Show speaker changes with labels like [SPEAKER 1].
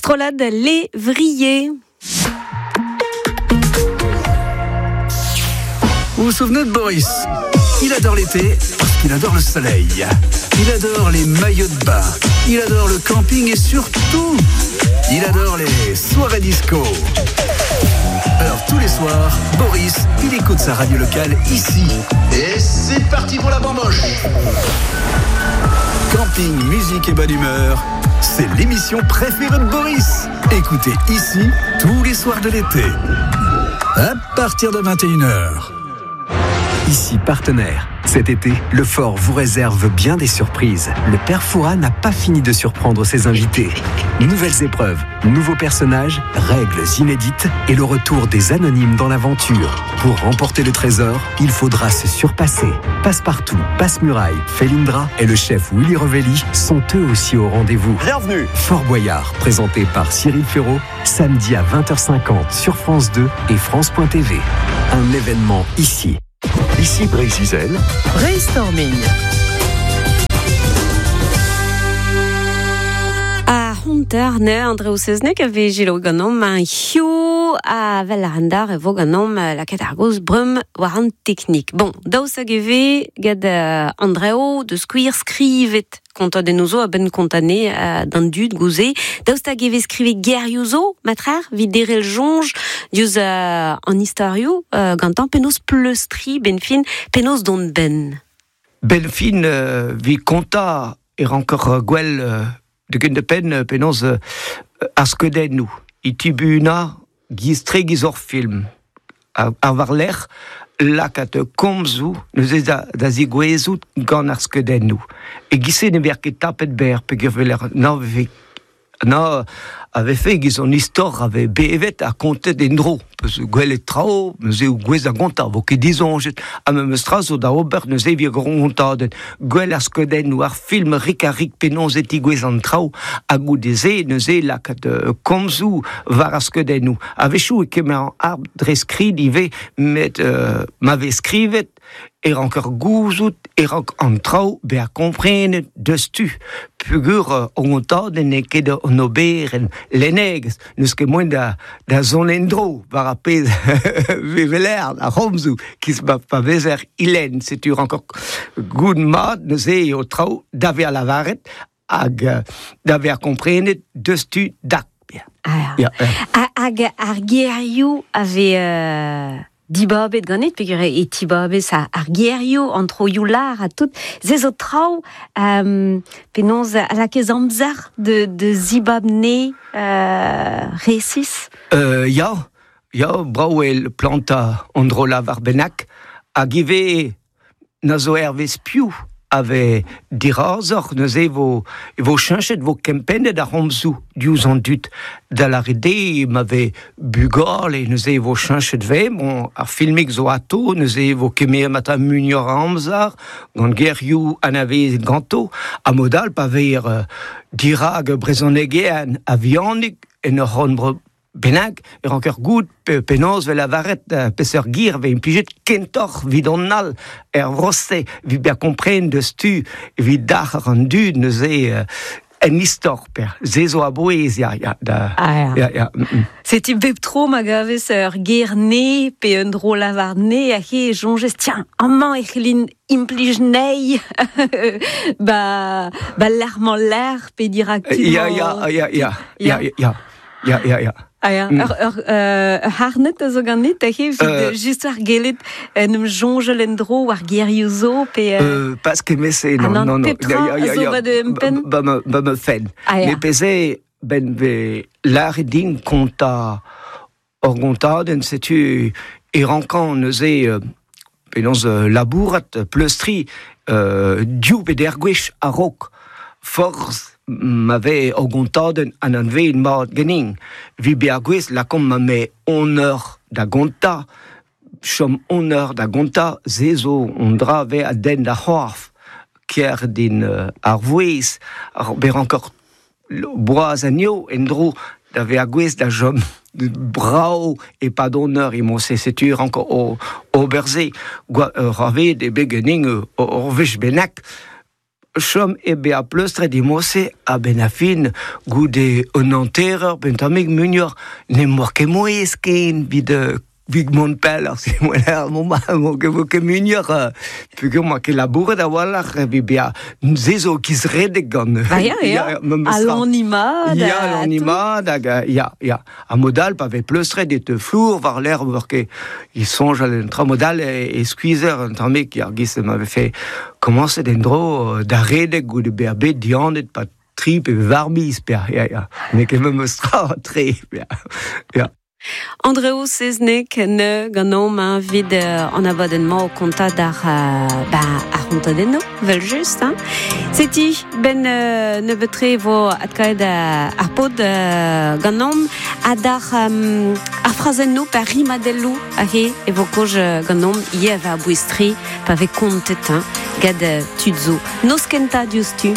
[SPEAKER 1] Strollad Lévrier.
[SPEAKER 2] Vous vous souvenez de Boris Il adore l'été parce qu'il adore le soleil. Il adore les maillots de bain. Il adore le camping et surtout, il adore les soirées disco. Alors tous les soirs, Boris, il écoute sa radio locale ici. Et c'est parti pour la bamboche Camping, musique et bonne humeur, c'est l'émission préférée de Boris. Écoutez ici tous les soirs de l'été. À partir de 21h.
[SPEAKER 3] Ici partenaire. Cet été, le fort vous réserve bien des surprises. Le père Fouras n'a pas fini de surprendre ses invités. Nouvelles épreuves, nouveaux personnages, règles inédites et le retour des anonymes dans l'aventure. Pour remporter le trésor, il faudra se surpasser. Passepartout, Passe-Muraille, Felindra et le chef Willy Rovelli sont eux aussi au rendez-vous.
[SPEAKER 4] Bienvenue
[SPEAKER 3] Fort Boyard, présenté par Cyril Ferraud, samedi à 20h50 sur France 2 et France.tv. Un événement ici.
[SPEAKER 4] Ici Brésil.
[SPEAKER 5] Brainstorming.
[SPEAKER 1] A honter ne Andreu Seznek a vez gelo ganeomp un hiziv a vel ar andar e vo ganeomp lakaat ar gaoz breum war an teknik. Bon, daoust hag e vez gant Andreu deus skuir skrivet kontadennoù zo a-benn kontane d'an dud gouze. Daoust hag e vez skrivet gerioù zo, matrer, evit derc'hel soñj diouzh an istorioù gantañ penaos pleustriñ benn fin, penaos dont benn.
[SPEAKER 6] Benn fin evit kontañ e ranker gwell da gentañ-penn penaos ar skeudennoù. E tibunañ giz-tre giz hor film. Ar war-lerc'h lakaat komzoù neuze da zegouezhout gant ar skeudennoù. E-giz-se ne vez ket tapet berr peogwir na vez na a vefe e-giz an istor a vez bevet ha kontet en-dro. Peus gwelet traoù, neuze eo gouez da gontañ, vo ket disoñjet. Ha memes tra zo da ober neuze evit ur gontadenn. Gwell ar skeudennoù, ar film rik-ha-rik penaos e tigouez an traoù, ha goude-se neuze lakaat komzoù war ar skeudennoù. A-wechoù e kemer an dre skrid ivez, met ma vez skrivet e ranker gouzout e rank an traoù bezañ komprenet diouzhtu. Peogwir an gontadenn n'eo ket an oberenn lennegezh, n'eus ket moaien da, da zont en-dro war ar pezh vez weler ar c'homzoù kiz pa, pa vezer ilenn. Setu ranker goût mat neuze eo traoù da vezañ lavaret hag da vezañ komprenet diouzhtu dak.
[SPEAKER 1] Ah, ja. Hag ar gerioù a vez dibabet ganit, peogwir e tibabez ar gerioù, an troioù lar ha tout. Se zo traoù penaos a lakaez amzer de zibab ne resis?
[SPEAKER 6] Ya, ya, brav eo plantañ an dro-lavar bennak, hag ivez Na zo hervez piv a vez dirazoc'h neuze e vo e vo cheñchet, vo kempennet ar c'homzoù diouzh an dud. Da lâret eo ma vez bugale neuze e vo cheñchet 'vez, bon ar filmig zo atô neuze e vo kemeret mata muioc'h a amzer gant gerioù anavezet ganto ha mod all pa vez dirak brezhonegerien a-vihanik en ur c'horn-bro bennak e ranker goût penaos 'vez lavaret peseurt gir 'vez implijet kentoc'h 'vit an all er vro-se evit bezañ kompren deus tu evit dalc'her an dud neuze en istor per se zo a-bouez ya ya da
[SPEAKER 1] ah,
[SPEAKER 6] ya ya
[SPEAKER 1] Setu bep tro ma gavez ur ger ne pe un dro lavar ne a he soñjez tiens amañ e c'hellin implij nei ba ba lec'h-mañ lec'h pe dirak
[SPEAKER 6] ya ya ya ya ya ya Ya, ya, ya.
[SPEAKER 1] Ah ya, ur, ur, ur harned a zo ganit, aze, evit just ar gellet en em soñjal en-dro war gerioù zo, pe...
[SPEAKER 6] Pas kement-se,
[SPEAKER 1] ah
[SPEAKER 6] non,
[SPEAKER 1] non,
[SPEAKER 6] non, non.
[SPEAKER 1] Pep tra
[SPEAKER 6] Ya, ya,
[SPEAKER 1] a zo
[SPEAKER 6] ya.
[SPEAKER 1] ba da empenn?
[SPEAKER 6] Ba ma, ba ma fenn.
[SPEAKER 1] Ah ya.
[SPEAKER 6] Met peze, ben 'vez lâret din kontañ ur gontadenn, setu e rankan neuze penaos labourat, pleustriñ div pe deir gwech a-raok. Forzh ma vez ur gontadenn anavezet mat ganin. Evit bezañ gouest, lakaomp ma me on eur da gontañ, chom on eur da gontañ, se zo un dra 'vez a denn d'ar c'horf. Ker din ar vouezh, ar bezañ rankor boaz anezho en-dro da vezañ gouest da chom brav e-pad on eur emañ-se setu rank ober se. Gwa ur vet eo bet ganin ur wech bennak. Chom e be a pleustret di mose a ben a fin goude un anterreur ben tammig munior ne mor ket mouez ken vid vig mont pell ar se moeler mon ma mo ket vo ket munior pugur ma ket labouret a-walc'h evit bea se zo kizredek gant
[SPEAKER 1] Ba ya, ya.
[SPEAKER 6] memes
[SPEAKER 1] A
[SPEAKER 6] tra.
[SPEAKER 1] l'animad.
[SPEAKER 6] Ya, l'animad hag ya, ya. A modal pa vez pleustret e te flour war l'air war ket il soñjal un tra modal e, e skuizher un tammig ar giz m'avait fait commencer en dro da redek goude bezañ bet dianet pa tri pe var miz pe ya, ya. N'eo ket memes tra tre ya. Ya.
[SPEAKER 1] Andreo Seznec ne ganeomp hein, vid an abadenn-mañ o kontañ d'ar ba, ar c'hontadennoù, vel just. Hein. Seti, ben nebeut-tre e vo adkaet ar pod ganeomp ha d'ar ar frazennoù pe ar rimadelloù aze e vo kaoz ganeomp ivez a bouez-tre pa vez kontet hein, gant tud zo. Noz kentañ diouzhtu.